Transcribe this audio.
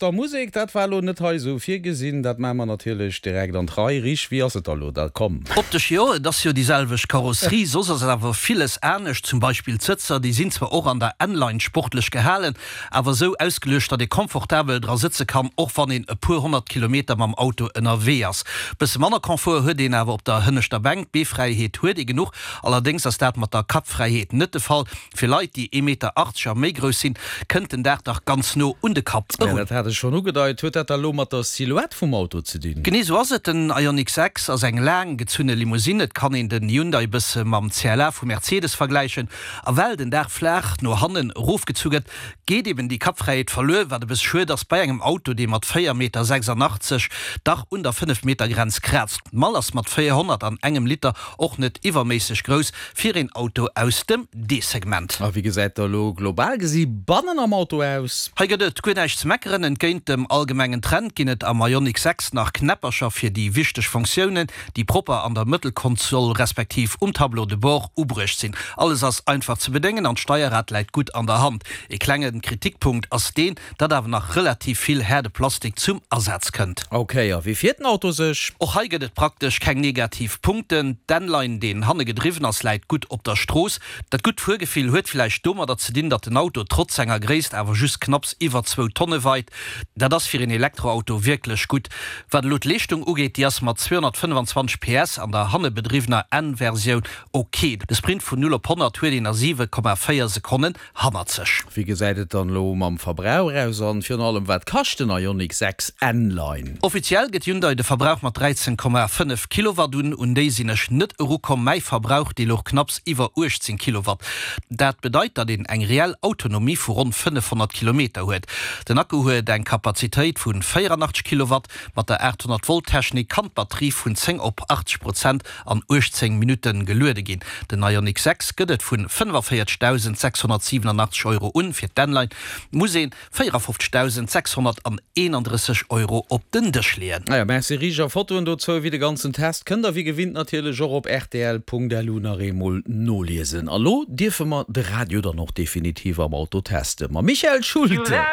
der Musek, dat war elo net hei esou virgesinn. Dat maache mer natierlech direkt an d'Rei. Rich, wéi ass et da elo? Da komm. Optesch jo, et ass jo déi selwecht Karosserie, soss ass awer villes anescht. Zum Beispill d'Sëtzer, déi sinn zwar och an der N-Line sportlech gehalen, awer esou ausgeluecht, datt ee komfortabel dra sëtze kann, och wann een e puer 100 Kilometer mam Auto ënnerwee ass. Bësse manner Confort huet een awer op der hënneschter Bänk, Beefräiheet huet ee genuch, allerdéngs ass dat mat der Kappfräiheet net de Fall. Fir Leit, déi ee Meter 80 a méi grouss sinn, kënnt den Daach dach ganz no un de Kapp Ja, erun. dat hat ech schonn ugedeit. Huet dat da lo mat der Silhouette vum Auto ze dinn? Genee sou ass et. Den Ioniq 6 ass eng laang gezunne Limousine. Et kann een den Hyundai bësse mam CLA vu Mercedes vergläichen. A well den Daach flaach no hannen erofgezu gëtt, geet eben déi Kappfräiheet verluer, wat e bësse schued ass bei engem Auto, dee mat 4 Meter 86 dach un der 5 Meter Grenz kraazt. D'Mall ass mat 400 an engem Liter och net iwwerméisseg grouss fir een Auto aus dem D-Segment. A wéi gesäit da lo global gesi bannen am Auto aus? Hei gëtt et guer näischt ze meckeren. Entgéint dem allgemengen Trend ginn et am Ioniq 6 nach Knäppercher fir déi wichteg Fonktiounen, déi propper an der Mëttelkonsol respektiv um Tableau de bord ubruecht sinn. Alles ass einfach ze bedéngen an d'Steierrad läit gutt an der Hand. Ee klenge Kritikpunkt ass deen, datt awer nach relativ vill haarde Plastik zum Asaz kënnt. Ok, a wéi fiert den Auto sech? Och hei gëtt et praktesch keng negativ Punkten. D'N-Line, deen hanne gedriwwen ass, läit gutt op der Strooss. Dat gutt Fuergefill huet villäicht domadder ze dinn, datt den Auto trotz senger Gréisst awer just knapps iwwer zwou Tonne weit. Dat ass fir een Elektroauto wierklech gutt. Wat elo d'Leeschtung ugeet, déi ass mat 225 PS an der hannebedriwwener N-Versioun ok. De Sprint vun 0 op 100 huet een a 7,4 Sekonnen hannert sech. Wéi gesäit et dann elo mam Verbrauch aus an virun allem wat kascht den Ioniq 6 N-Line? Offiziell gëtt Hyundai de Verbrauch mat 13,5 Kilowatt un. Un déi sinn ech net erukomm. Mäi Verbrauch, dee louch knapps iwwer 18 Kilowatt. Dat bedeit, datt een eng reell Autonomie vu ronn 500 Kilometer huet. Den Akku huet eng Kapazitéit vu 84 Kilowatt. Mat der 800 Volt Technik kann d'Batterie vun 10 op 80 Prozent an 18 Minutte geluede ginn. Den Ioniq 6 gëtt et vun 45.687 Euro un. Fir d'N-Line muss een 54.631 Euro op den Dësch leeën. Naja, merci Rich. A Fotoen dozou ewéi de ganzen Test kënnt der wéi gewinnt natierlech och op rtl.lu nach eemol noliesen. A lo dierfe mer de Radio dann och definitiv am Auto testen mam Michael Schulte.